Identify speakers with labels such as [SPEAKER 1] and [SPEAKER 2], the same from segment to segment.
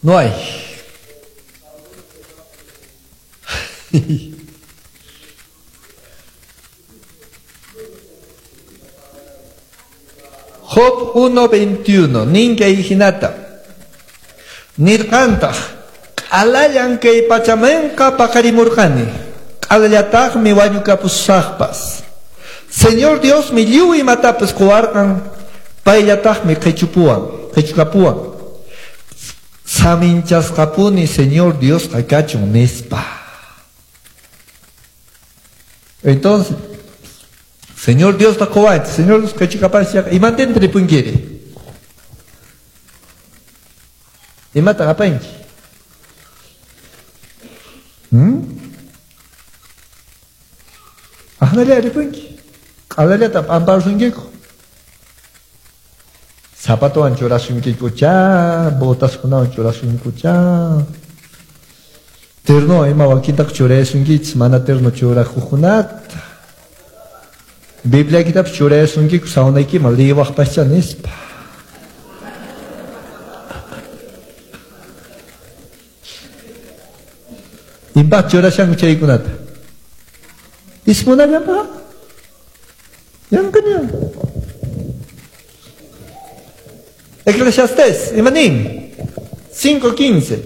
[SPEAKER 1] No hay. Job 1:21, ninka hinata. Nirqantaq, q'alallan kay pachamanqa paqarimurqani, q'alallataqmi wañukapusaqpas. Señor Diosmi lliw imatapas quwarqan, payllataqmi qhichupuwan, qhichukapuwan. Saminchasqapuni Señor Diosqa kachun nispa. Entonces, Señor Dios ta quwanchik, Señor Dios qhichukapanchik, imantinta ripunkiri? Imata apanki? Aqnalla ripunki. Q'alallata p'amparusunkiku. Zapatowan churasunkikuchá, botaskunawan churasunkuchá. Terno ima wakintaqa churayasunkichis, mana terno churakuqkunata. Bibliaykitapas churayasunkiku sawnaykiman liwaqpaschá nispa. Impaq churashanku chaykunata? Ismunallanpaq? Yanqaña. Eclesiastés, imanin? 5:15.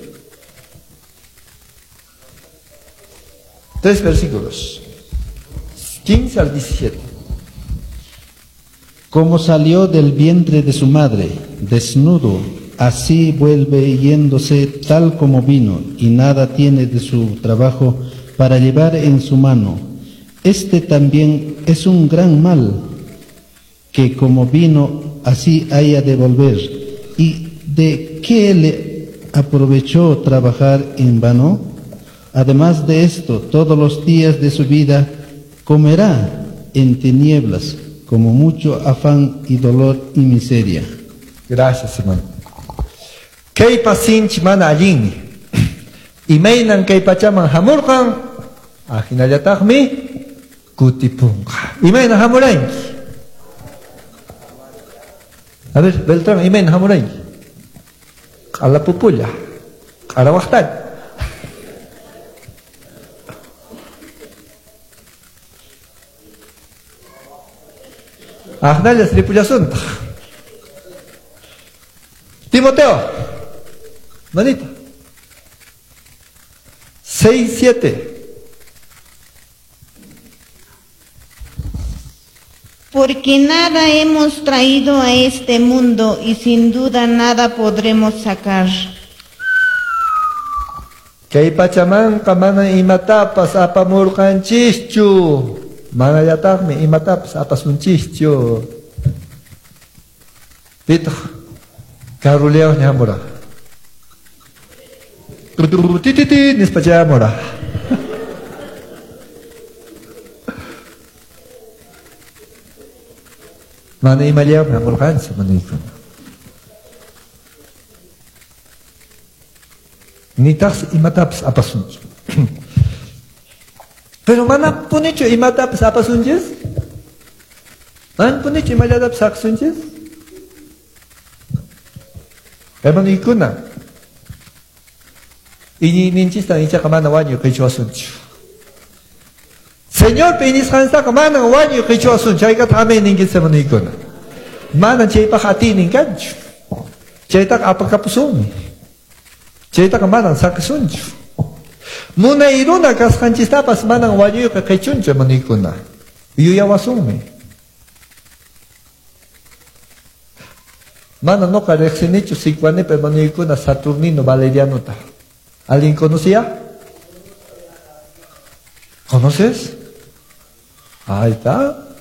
[SPEAKER 1] Tres versículos. 15 al 17.
[SPEAKER 2] Como salió del vientre de su madre, desnudo, así vuelve yéndose tal como vino, y nada tiene de su trabajo para llevar en su mano. Este también es un gran mal, que como vino, así haya de volver. ¿Y de qué le aprovechó trabajar en vano? Además de esto, todos los días de su vida comerá en tinieblas, como mucho afán y dolor y miseria.
[SPEAKER 1] Gracias, hermano. Kaypas sinchi mana allinmi. Imaynan kay pachaman hamurqan, ahinallataqmi kutipunqa. Imaynan hamuranki? A ver, Beltrán, imaynan hamuranki? Q'alapupulla, q'arawaqtalla. Aqnallas ripullasuntaq. Timoteo, manita. 6:7.
[SPEAKER 3] Porque nada hemos traído a este mundo y sin duda nada podremos sacar.
[SPEAKER 1] Kay pachamanqa mana imatapas apamurqanchischu. Manallataqmi imatapas apasunchikchu. Pitaq karruliawña hamuraq. Tititi nispa chamuraq. Mana imallawmi hamurqanchik manaykuna. Nitaqsi imatapas apasunchu. Pero mana punichu imatapas apasunchis? Mana punichu imallatapas saqsunchis? Hermanoykuna, iñiyninchistan ichaqa mana wañuy qichwasunchu. Señorpa iñisqanchistaqa manan wañuy qichwasunchu. Chaykata amén ninkichis, hermanoykuna. Manan chaypaq atiynin kanchu. Chaytaqa apakapusunmi. Chaytaqa manan saqisunchu. Munay runa kasqanchistapas manan wañuyqa qichunchu, hermanoykuna. Yuyawasunmi. Mana noqa riqsinichu Sicuanipa hermanoykuna Saturnino Valerianota. ¿Alguien conocía? ¿Conoces? Ahí está.